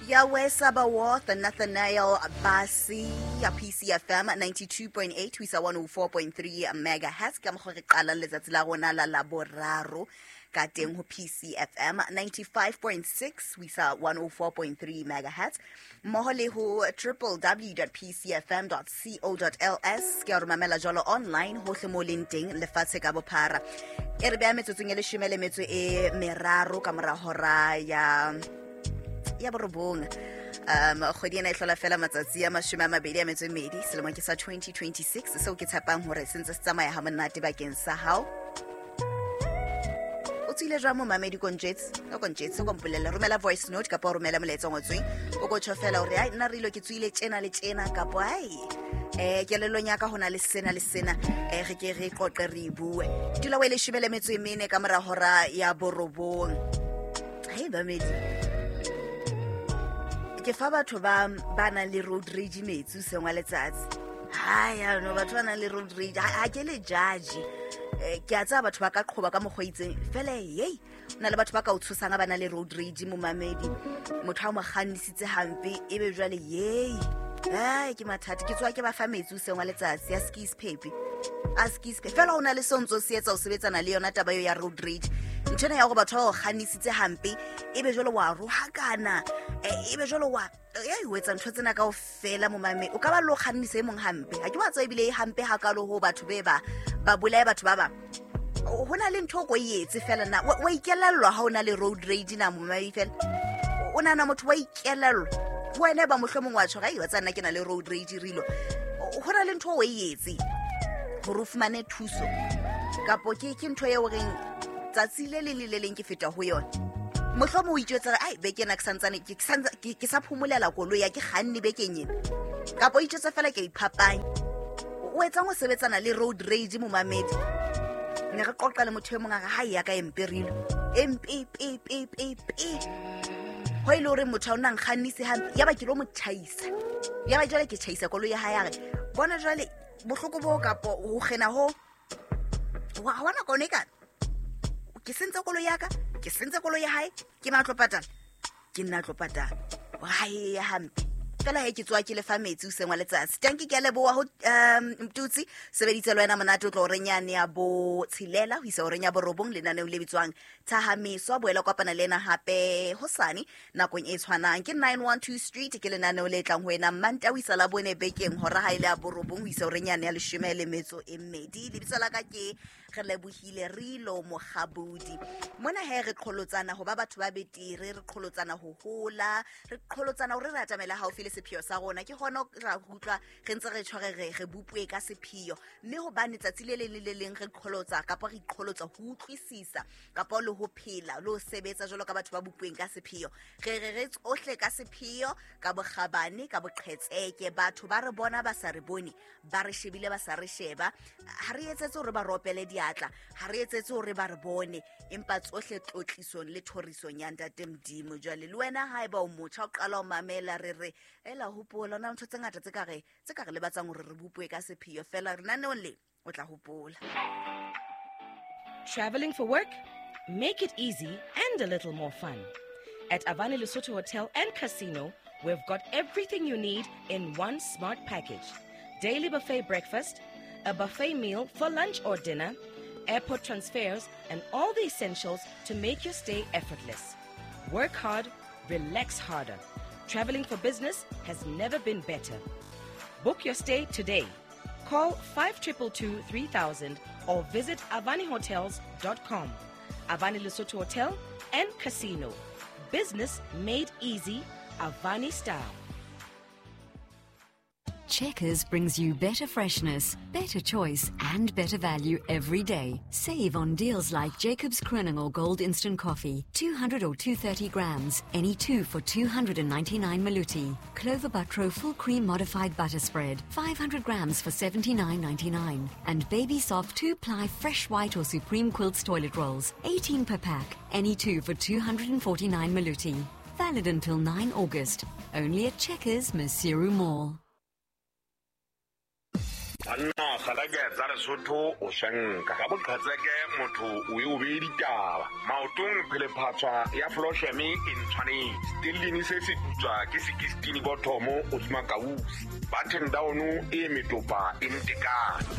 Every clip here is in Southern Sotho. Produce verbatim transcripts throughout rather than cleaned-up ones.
Yahweh Sabaoth, Nathaniel Basi ya P C F M ninety-two point eight ho isa one oh four point three megahertz. Ka mokgwa re qalang letsatsi la rona la Laboraro ka teng ho P C F M ninety-five point six ho isa one oh four point three megahertz, mmoho le ho w w w dot p c f m dot co dot l s. Ke a re mamela jwalo online hohle mo leng teng lefatshe ka bophara. E re beha metsotsong e leshome le metso e meraro ka mora hora ya ya borobong. Um kgwedi ena e hlola fela matsatsi a mashome a mabedi a metso e mmedi, selemo ke sa twenty twenty-six, seo ke tshepang hore se ntse se tsamaya ha monate bakeng sa hao. O tswile jwang momamedi kontjetse? O kontjetse, o kompolelle, romela voice note kapa o romela molaetsa o ngotsweng. O ko tjho fela hore ai nna re ilo ke tswile tjena le tjena, kapa ai eh kelellong ya ka hona le sena le sena, eh re ke re qoqe re bue. Dula o e leshome le metso e mene ka mora hora ya borobong. Hei bamedi, ke fa batho ba ba nang le road rage metsi hoseng wa letsatsi. Hai, no, batho ba nang le road rage ha ke le judge. Ke a tseba batho ba ka qhoba ka mokgwa o itseng fela, hey, ho na le batho ba ka o tshosang ha ba na le road rage momamedi. Motho ha o mo kgannisitse hampe ebe jwale yey, ai ke mathata. Ke tswa ke ba fa metsi hoseng wa letsatsi ya skis pepe a skis pepe fela. Ho na le seo ntso se etsa o sebetsana le yona taba eo ya road rage. Ntho ena ya hore batho ba o kgannisitse hampe ebe jwale wa rohakana, ebe jwale wa ya o etsa ntho tsena kaofela momame. O ka ba lo kgannisa e mong hampe, ha ke wa tswa ebile e hampe hakalo ho batho be ba ba bolaye batho ba bang. Ho na le ntho o ko e etse fela na wa ikelellwa ha o na le road rage na momame fela. O nahana motho wa ikelellwa wena ba mohlomong wa tjho, ai wa tsana ke na le road rage rilo. Ho na le ntho o e etse hore o fumane thuso, kapo ke ke ntho eo reng tsatsi le leng le le leng ke feta ho yona. Mohlomong o itjwetsa ai beke ena ke santsane ke santsa ke sa phomolela koloi ya ke kganne bekeng ena, kapo o itjwetsa fela ke iphapanya. O etsang ho sebetsana le road rage momamedi? Ne re qoqa le motho e mong a re ha ya ka emperilo M P P P P P ho ile hore motho a o nang kgannise hampe, ya ba ke lo mo tjhaisa, ya ba jwale ke tjhaisa koloi ya hae. A re bona jwale bohloko bo kapo ho kgena ho wa hona kone ka ke sentse koloi ya ka, ke sentse koloi ya hae, ke matlo patala, ke nna tlo patala hae ya hampe fela. He ke tswa ke le fa metsi hoseng wa letsatsi. Tanki ke a leboha ho um Mtutsi sebeditse le wena monate o tlo re nyane ya bo tshelela ho isa horeng ya borobong lenaneong le bitswang Thahamiso. Boela kopana le ena hape hosane nakong e tshwanang. Ke nine one two Street, ke lenaneo le tlang ho wena Manta ho isa la bone bekeng hora ha ile ya borobong ho isa horeng yane ya leshome le metso e mmedi. Lebitso la ka ke re lebohile Rilo Mokgabudi. Mona he re qholotsana ho ba batho ba betere, re qholotsana ho hola, re qholotsana hore re atamela haufi le sepheo sa rona. Ke hona ra utlwa re ntse re tshware re re bopue ka sepheo, mme hobane tsatsi le leng le le leng re qholotsa kapa re iqholotsa ho utlwisisa kapa le ho phela le ho sebetsa jwalo ka batho ba bopueng ka sepheo. Re re re tsohle ka sepheo, ka bokgabane, ka boqhetseke. Batho ba re bona ba sa re bone, ba re shebile ba sa re sheba. Ha re etsetse hore ba ropele diatla, ha re etsetse hore ba re bone, empa tsohle tlotlisong le thorisong ya Ntate Modimo. Jwale le wena haeba o motjha o qala ho mamela, re re ela hopola na ntho tse ngata tse ka re tse ka re lebatsang hore re bopue ka sepheo fela. Re naneong le o tla hopola. Traveling for work? Make it easy and a little more fun. At Avani Lesotho Hotel and Casino, we've got everything you need in one smart package. Daily buffet breakfast, a buffet meal for lunch or dinner, airport transfers, and all the essentials to make your stay effortless. Work hard, relax harder. Traveling for business has never been better. Book your stay today. Call five two two two three thousand or visit avani hotels dot com. Avani Lesotho Hotel and Casino. Business made easy, Avani style. Checkers brings you better freshness, better choice, and better value every day. Save on deals like Jacobs Kroning Gold Instant Coffee, two hundred or two hundred thirty grams, any two for two hundred ninety-nine Maluti. Clover Butro Full Cream Modified Butter Spread, five hundred grams for seventy-nine ninety-nine. And Baby Soft two-ply Fresh White or Supreme Quilts Toilet Rolls, eighteen per pack, any two for two hundred forty-nine Maluti. Valid until nine August. Only at Checkers, Maseru Mall. Banna kgalake tsa Lesotho o shanka ka boqhetseke motho o e o behe ditaba maotong phelephatswa ya flosheme e ntshwanetse stellini se se putswa ke sixteen bottomo o tsma kausi button down e metopa e ntekane.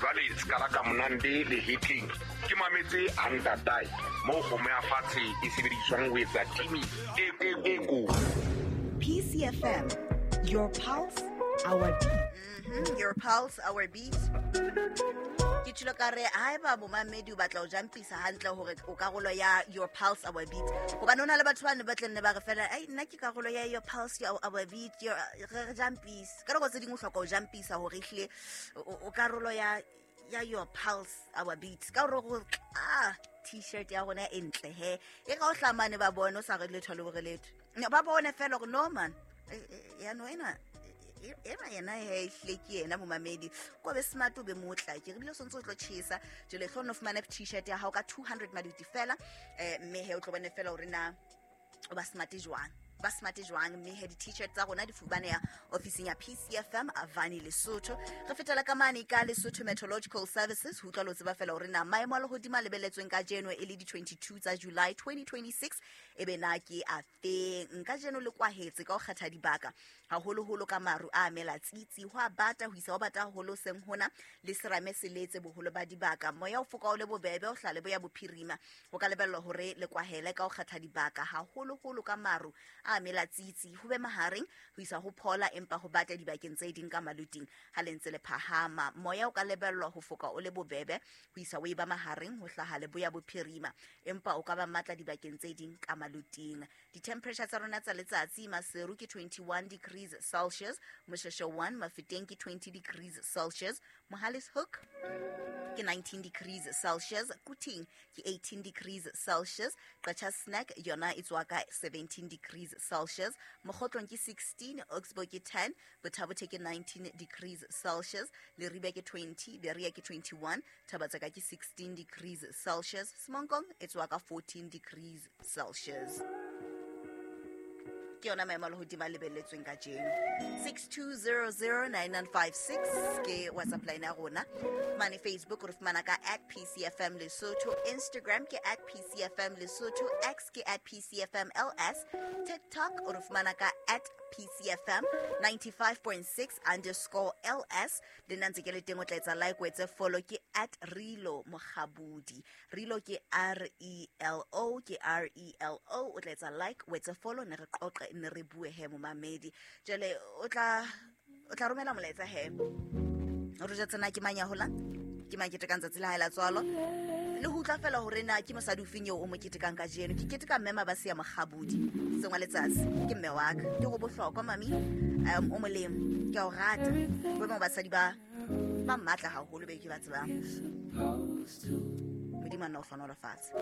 Jwale skala ka monande le hitting ke mametse hantatai mo kgomo ya fatshe e sebediswang ho etsa timi e e e ko. P C F M, your pulse, our beat. Mm-hmm, your pulse, our beat. Ke tshilo ka re haeba momamedi o batla o jumpisa hantle hore o karolo ya your pulse our beat, hobane hona le batho ba ne ba tlenne ba re fela ai nna ke karolo ya your pulse your our beat your re jumpisa ka nako tse dingwe o hloka o jumpisa hore ehlile o karolo ya ya your pulse our beat ka hore go ah t-shirt ya rona e ntle he e ka o hlamane ba bone o sa re letho le bore letho ba bone fela hore no man ya no ena ena yena he ehlile ke yena momamedi ko be smart o be motla ke re bile o sontse o tlo tjhesa jwale hlo no fumana t-shirt ya hao ka two hundred maduti fela eh mme he o tlo bone fela hore na o ba smart jwang ba smart jwang mme he di-t-shirt tsa rona di fumaneha ofising ya P C F M Avani Lesotho. Re fetela ka mane ka Lesotho Meteorological Services ho utlwa lo tseba fela hore na maemo a lehodimo a lebelletsweng kajeno e le di twenty-two tsa July twenty twenty-six e be na ke a feng. Kajeno le kwahetse ka ho kgetha dibaka haholoholo ka maru a mela tsitsi ho a bata ho isa ho bata haholo seng hona le serame se letse boholo ba dibaka. Moya o foka o le bobebe o hlale bo ya bophirima ho ka lebellwa hore le kwahele ka ho kgetha dibaka haholoholo ka maru a mela tsitsi ho be mahareng ho isa ho phola empa ho bata dibakeng tse ding ka maluting ha le ntse le phahama. Moya o ka lebellwa ho foka o le bobebe ho isa o e ba mahareng ho hlaha le boya bophirima empa o ka ba matla dibakeng tse ding ka maluting. Di-temperature tsa rona tsa letsatsi Maseru ke twenty-one degrees Celsius, Mosheshe one, Mafeteng ke twenty degrees Celsius, Mohale's Hoek ke nineteen degrees Celsius, Kuting ke eighteen degrees Celsius, Qacha Snack yona e tswa ka seventeen degrees Celsius, Mokgotlong ke sixteen, Oxbow ke ten, Bothabothe ke nineteen degrees Celsius, Leribe ke twenty, Berea ke twenty-one, Thabatseka ke sixteen degrees Celsius, Semonkong e tswa ka fourteen degrees Celsius. Ke yona maemo a lehodimo a lebelletsweng kajeno. six two zero zero nine nine five six ke WhatsApp line ya rona. Mane Facebook re fumana ka at P C F M Lesotho, Instagram ke at P C F M Lesotho, X ke at P C F M L S, TikTok re fumana ka at P C F M ninety-five point six underscore L S. Le nna ntse ke le teng o tla etsa like o etse follow ke at Relo Mokgabudi. Relo ke R E L O ke R E L O o tla etsa like o etse follow ne re qoqe ne re bue he momamedi. Jwale o tla o tla romela molaetsa he. O re jwetsa ke mang ya holang? Ke mang ketekang tsatsi la hae la tswalo? Le ho utlwa fela hore na ke mosadi ofeng eo o mo ketekang kajeno. Ke keteka mme Mabase ya Mokgabudi sengwa letsatsi. Ke mme wa ka. Ke go bohlokwa mami. Um o molemo. Ke a o rata. Bo bang basadi ba ba matla haholo be ke ba tsebang. Modimo a nna o hlohonolofatse.